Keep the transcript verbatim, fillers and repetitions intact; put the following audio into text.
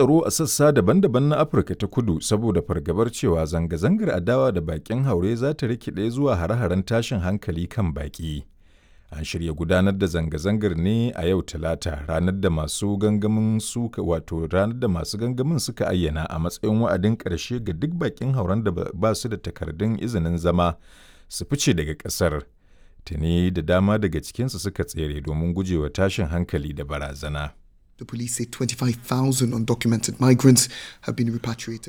tsaro a sassa daban-daban na Afirka ta Kudu saboda fargabar cewa zanga-zangar adawa da bakin haure za ta rikide zuwa hare-haren tashin hankali kan baki. An shirya gudanar da zanga-zangar ne a yau Talata, ranar da masu gangamin suka wato ranar da masu gangamin suka ayyana a matsayin wa'adin ƙarshe ga duk bakin hauren da ba su da takardun izinin zama su fice daga ƙasar. Tuni da dama daga cikinsu suka tsere domin gujewa tashin hankali da barazana. The police say twenty-five thousand undocumented migrants have been repatriated.